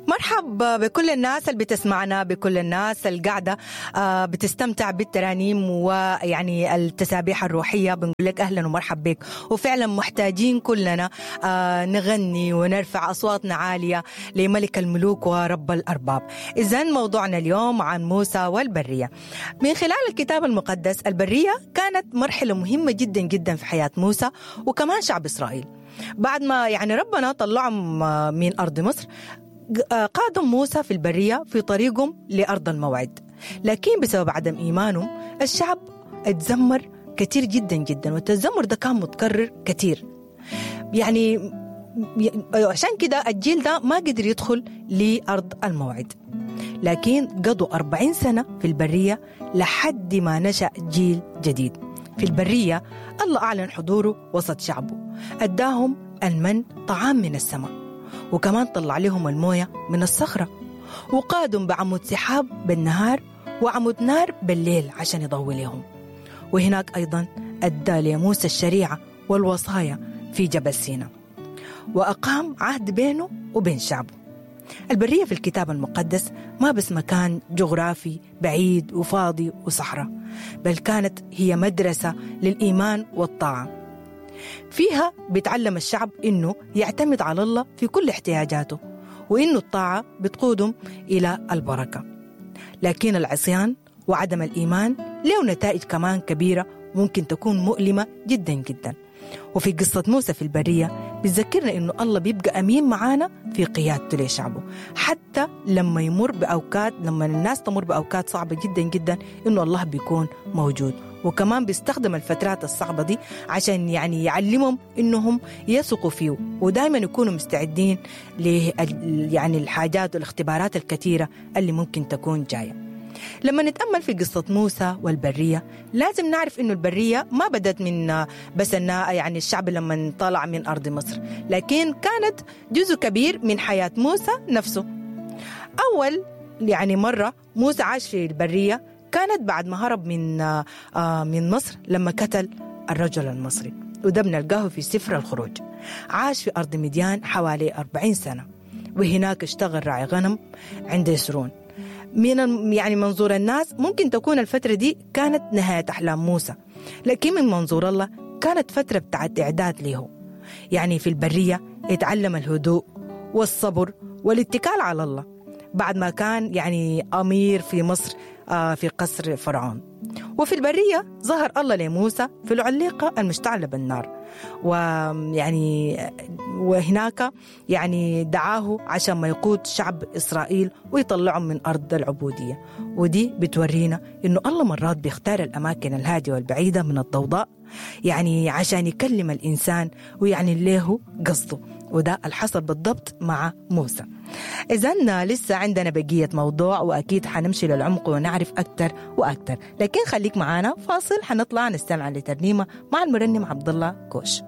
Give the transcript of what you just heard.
مرحب بكل الناس اللي بتسمعنا، بكل الناس اللي قاعدة بتستمتع بالترانيم ويعني التسابيح الروحية. بنقول لك أهلا ومرحب بك. وفعلا محتاجين كلنا نغني ونرفع أصواتنا عالية لملك الملوك ورب الأرباب. إذن موضوعنا اليوم عن موسى والبرية. من خلال الكتاب المقدس، البرية كانت مرحلة مهمة جدا جدا في حياة موسى وكمان شعب إسرائيل. بعد ما يعني ربنا طلعهم من أرض مصر، قادم موسى في البرية في طريقهم لأرض الموعد، لكن بسبب عدم إيمانهم الشعب اتذمر كثير جدا جدا، والتذمر ده كان متكرر كثير. يعني عشان كده الجيل ده ما قدر يدخل لأرض الموعد، لكن قضوا 40 سنة في البرية لحد ما نشأ جيل جديد. في البرية الله أعلن حضوره وسط شعبه، أداهم المن طعام من السماء، وكمان طلع لهم الموية من الصخرة، وقادهم بعمود سحاب بالنهار وعمود نار بالليل عشان يضوي لهم. وهناك أيضا أدى لموسى الشريعة والوصايا في جبل سيناء، وأقام عهد بينه وبين شعبه. البرية في الكتاب المقدس ما بس مكان جغرافي بعيد وفاضي وصحراء، بل كانت هي مدرسة للإيمان والطاعة. فيها بيتعلم الشعب إنه يعتمد على الله في كل احتياجاته، وإنه الطاعة بتقودهم إلى البركة. لكن العصيان وعدم الإيمان له نتائج كمان كبيرة ممكن تكون مؤلمة جدا جدا. وفي قصة موسى في البرية بتذكرنا إنه الله بيبقى أمين معانا في قيادته لشعبه، حتى لما يمر بأوقات، لما الناس تمر بأوقات صعبة جدا جدا، إنه الله بيكون موجود. وكمان بيستخدم الفترات الصعبة دي عشان يعني يعلمهم إنهم يثقوا فيه، ودائما يكونوا مستعدين ل يعني الحاجات والاختبارات الكثيرة اللي ممكن تكون جاية. لما نتأمل في قصة موسى والبرية لازم نعرف إنه البرية ما بدت من بس يعني الشعب لما طلع من أرض مصر، لكن كانت جزء كبير من حياة موسى نفسه. أول يعني مرة موسى عاش في البرية كانت بعد ما هرب من مصر لما قتل الرجل المصري، وده بنلقاه في سفر الخروج. عاش في أرض مديان حوالي 40 سنة، وهناك اشتغل راعي غنم عند يسرون. من يعني منظور الناس ممكن تكون الفترة دي كانت نهاية أحلام موسى، لكن من منظور الله كانت فترة بتاعت إعداد له. يعني في البرية اتعلم الهدوء والصبر والاتكال على الله، بعد ما كان يعني أمير في مصر في قصر فرعون. وفي البرية ظهر الله لموسى في العليقة المشتعلة بالنار، ويعني وهناك يعني دعاه عشان ما يقود شعب إسرائيل ويطلعهم من أرض العبودية. ودي بتورينا إنه الله مرات بيختار الأماكن الهادية والبعيدة من الضوضاء، يعني عشان يكلم الإنسان ويعني له قصده، وده الحصل بالضبط مع موسى. إذن لسه عندنا بقية موضوع، وأكيد حنمشي للعمق ونعرف أكتر وأكتر، لكن خليك معانا فاصل، حنطلع نستمع لترنيمة مع المرنم عبد الله كوش.